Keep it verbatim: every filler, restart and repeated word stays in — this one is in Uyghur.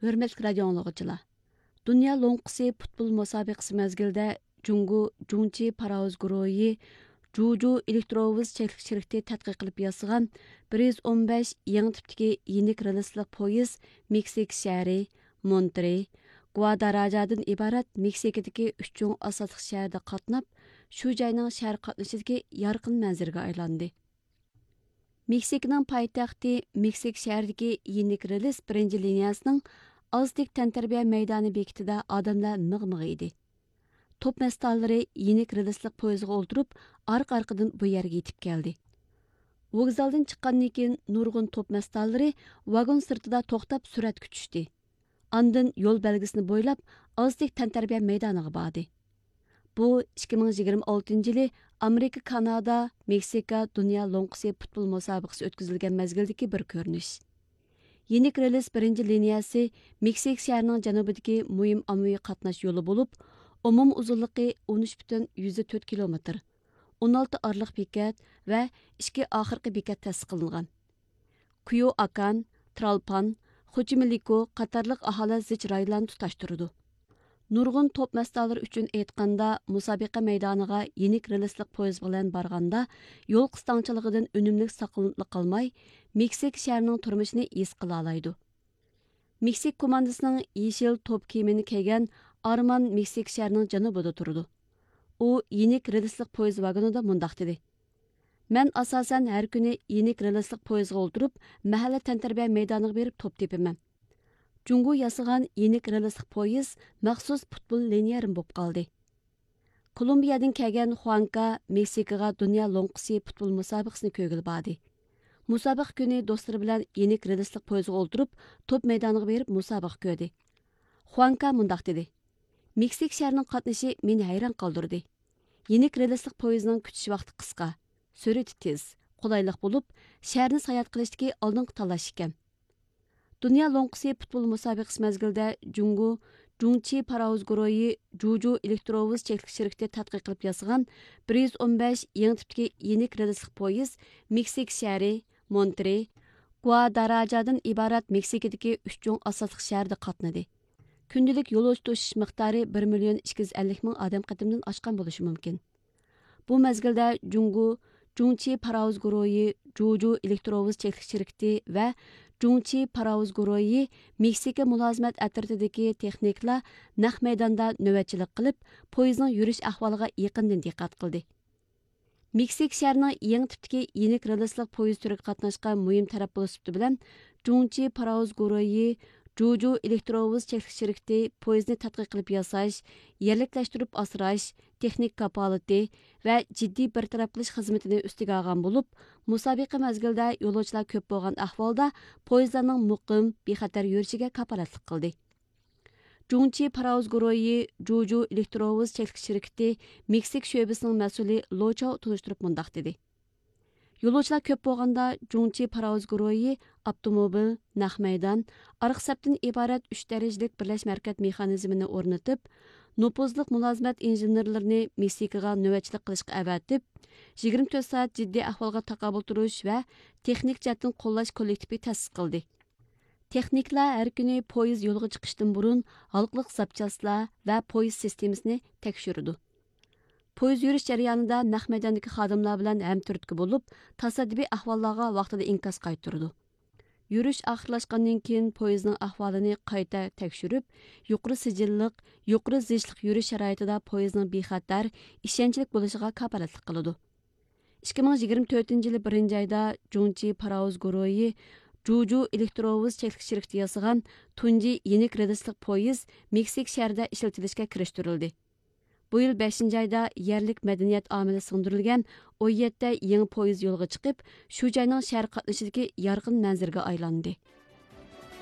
ھۆرمەتلىك رادىئو ئاڭلىغۇچىلار! دۇنيا لوڭقىسى پۇتبول مۇسابىقىسى مەزگىلىدە جۇڭگو جۇڭچى پاراۋۇز گۇرۇھى جۇجۇ ئېلېكتروۋوز چەكلىك شىركىتى تەتقىق قىلىپ ياسىغان بىر يۈز ئون بەش يېڭى تىپتىكى يېنىك رېلىسلىق پويىز مېكسىكا شەھىرى، مونترې، گۇاداراجادىن ئىبارەت مېكسىكىدىكى ئۈچ چوڭ ئاساسلىق شەھەردە قاتناپ، شۇ جاينىڭ شەھەر قاتنىشىدىكى يارقىن مەنزىرىگە ئايلاندى. مېكسىكىنىڭ پايتەختى مېكسىك شەھىرىدىكى يېنىك رېلىس بىرىنچى لىنىيەسىنىڭ ئازتېك تەنتەربىيە مەيدانى بېكىتىدە ئادەملەر مىغ-مىغ ئىدى. توپ مەستانىلىرى يېنىك رېلىسلىق پويىزغا ئولتۇرۇپ، ئارقا-ئارقىدىن بۇ يەرگە يېتىپ كەلدى. ۋوگزالدىن چىققاندىن كېيىن، نۇرغۇن توپ مەستانىلىرى ۋاگون سىرتىدا توختاپ سۈرەتكە چۈشتى. ئاندىن يول بەلگىسىنى بويلاپ، ئازتېك تەنتەربىيە مەيدانىغا باردى. بۇ ئىككى مىڭ يىگىرمە ئالتىنچى يىلى ئامېرىكا، كانادا، مېكسىكا دۇنيا لوڭقىسى پۇتبول مۇسابىقىسى ئۆتكۈزۈلگەن مەزگىلدىكى بىر كۆرۈنۈش. يېنىك رېلىس بىرىنچى لىنىيەسى مېكسىك شەھىرىنىڭ جەنۇبىدىكى مۇھىم ئاممىۋى قاتناش يولى بولۇپ، ئومۇم ئۇزۇنلۇقى ئون ئۈچ پۈتۈن يۈزدە تۆت كىلومېتىر، ئون ئالتە ئارىلىق بېكەت ۋە ئىككى ئاخىرقى بېكەت تەسىس قىلىنغان. كۇيوئاكان، ترالپان، خوچىمېلىكو قاتارلىق ئاھالە زىچ رايونلارنى تۇتاشتۇرىدۇ. نۇرغۇن توپ مەستانىلىرى ئۈچۈن ئېيتقاندا، مۇسابىقە مەيدانىغا يېنىك رېلىسلىق پويىز بىلەن بارغاندا، يول قىستاڭچىلىقىدىن ئۈنۈملۈك ساقلىنىپلا قالماي، مېكسىك شەھىرىنىڭ تۇرمۇشىنى ھېس قىلالايدۇ. مېكسىك كوماندىسىنىڭ يېشىل توپ كىيىمىنى كىيگەن ئارمان مېكسىك شەھىرىنىڭ جەنۇبىدا تۇرىدۇ. ئۇ يېنىك رېلىسلىق پويىز ۋاگونىدا مۇنداق دېدى: «مەن ئاساسەن ھەر كۈنى يېنىك رېلىسلىق پويىزغا ئولتۇرۇپ، مەھەللە تەنتەربىيە مەيدانىغا بېرىپ توپ تېپىمەن. جۇڭگو ياسىغان يېنىك رېلىسلىق پويىز مەخسۇس پۇتبول لىنىيەرىم بولۇپ قالدى.» كولومبىيەدىن كەلگەن خۇانكا مېكسىكىغا دۇنيا لوڭقىسى پۇتبول مۇسابىقىسىنى كۆرگىلى باردى. مۇسابىقە كۈنى دوستلىرى بىلەن يېنىك رېلىسلىق پويىزغا ئولتۇرۇپ، توپ مەيدانىغا بېرىپ مۇسابىقە كۆردى. خۇانكا مۇنداق دېدى: «مېكسىك شەھىرىنىڭ قاتنىشى مېنى ھەيران قالدۇردى. يېنىك رېلىسلىق پويىزنىڭ كۈتۈش ۋاقتى قىسقا، سۈرئىتى تېز، قولايلىق بولۇپ، شەھەرنى ساياھەت قىلىشتىكى ئالدىنقى تاللاش ئىكەن.» دۇنيا لوڭقىسى پۇتبول مۇسابىقىسى مەزگىلىدە جۇڭگو جۇڭچى پاراۋۇز گۇرۇھى جۇجۇ ئېلېكتروۋوز چەكلىك شىركىتى تەتقىق قىلىپ ياسىغان بىر يۈز ئون بەش يېڭى تىپتىكى يېنىك رېلىسلىق پويىز مېكسىك شەھىرى، مونترې، گۇاداراجادىن ئىبارەت مېكسىكىدىكى ئۈچ چوڭ ئاساسلىق شەھەردە قاتنىدى. كۈندىلىك يولۇچى توشۇش مىقدارى بىر مىليون ئىككى يۈز ئەللىك مىڭ ئادەم قېتىمدىن ئاشقان بولۇشى مۇمكىن. بۇ مەزگىلدە جۇڭگو جۇڭچى پاراۋۇز گۇرۇھى جۇجۇ ئېلېكتروۋوز چەكلىك شىركىتى ۋە جۇڭچى پاراۋۇز گۇرۇھى مېكسىكا مۇلازىمەت ئەترىتىدىكى تېخنىكلار نەق مەيداندا نۆۋەتچىلىك قىلىپ، پويىزنىڭ يۈرۈش ئەھۋالىغا يېقىندىن دىققەت قىلدى. مېكسىك شەھىرىنىڭ يېڭى تىپتىكى يېنىك رېلىسلىق پويىز تۈرىگە قاتناشقان مۇھىم تەرەپ بولۇش سۈپىتى بىلەن، جۇڭچى پاراۋۇز گۇرۇھى جۇجۇ ئېلېكتروۋوز چەكلىك شىركىتى پويىزنى تەتقىق قىلىپ ياساش، يەرلىكلەشتۈرۈپ ئاسراش، تېخنىكا كاپالىتى ۋە جىددىي بىر تەرەپ قىلىش خىزمىتىنى ئۈستىگە ئالغان بولۇپ، مۇسابىقە مەزگىلىدە يولۇچىلار كۆپ بولغان ئەھۋالدا پويىزلارنىڭ مۇقىم، بىخەتەر يۈرۈشىگە كاپالەتلىك قىلدى. جۇڭچى پاراۋۇز گۇرۇھى جۇجۇ ئېلېكتروۋوز چەكلىك شىركىتى مېكسىك شۆبىسىنىڭ مەسئۇلى لو چاۋ تونۇشتۇرۇپ مۇنداق دېدى: يولۇچىلار كۆپ بولغاندا، جۇڭچى پاراۋۇز گۇرۇھى ئاپتوموبىل، نەق مەيدان، ئارقا سەپتىن ئىبارەت ئۈچ دەرىجىلىك بىرلەشمە ھەرىكەت مېخانىزمىنى ئورنىتىپ، نوپۇزلۇق مۇلازىمەت ئىنژېنېرلىرىنى مېكسىكىغا نۆۋەتچىلىك قىلىشقا ئەۋەتىپ، يىگىرمە تۆت سائەت جىددىي ئەھۋالغا تاقابىل تۇرۇش ۋە تېخنىك جەھەتتىن قوللاش كوللېكتىپى تەسىس قىلدى. تېخنىكلار ھەر كۈنى پويىز يولغا چىقىشتىن بۇرۇن ھالقىلىق زاپچاسلار ۋە پويىز سىستېمىسىنى تەكشۈرىدۇ. پويىز يۈرۈش جەريانىدا نەق مەيداندىكى خادىملار بىلەن ھەمتۈرتكە بولۇپ، تاسادىپىي ئەھۋاللارغا ۋاقتىدا ئىنكاس قايتۇرىدۇ. يۈرۈش ئاخىرلاشقاندىن كېيىن، پويىزنىڭ ئەھۋالىنى قايتا تەكشۈرۈپ، يۇقىرى سىجىللىق، يۇقىرى زىچلىق يۈرۈش شارائىتىدا پويىزنىڭ بىخەتەر، ئىشەنچلىك بولۇشىغا كاپالەتلىك قىلىدۇ. ئىككى مىڭ يىگىرمە تۆتىنچى يىلى بىرىنچى ئايدا جۇڭچى پاراۋۇز گۇرۇھى جۇجۇ ئېلېكتروۋوز چەكلىك شىركىتى ياسىغان تۇنجى يېنىك رېلىسلىق پويىز مېكسىك شەھىرىدە ئىشلىتىلىشكە كىرىشتۈرۈلدى. بۇ يىل بەشىنچى ئايدا يەرلىك مەدەنىيەت ئامىلى سىڭدۈرۈلگەن ئون يەتتە يېڭى پويىز يولغا چىقىپ، شۇ جاينىڭ شەھەر قاتنىشىدىكى يارقىن مەنزىرىگە ئايلاندى.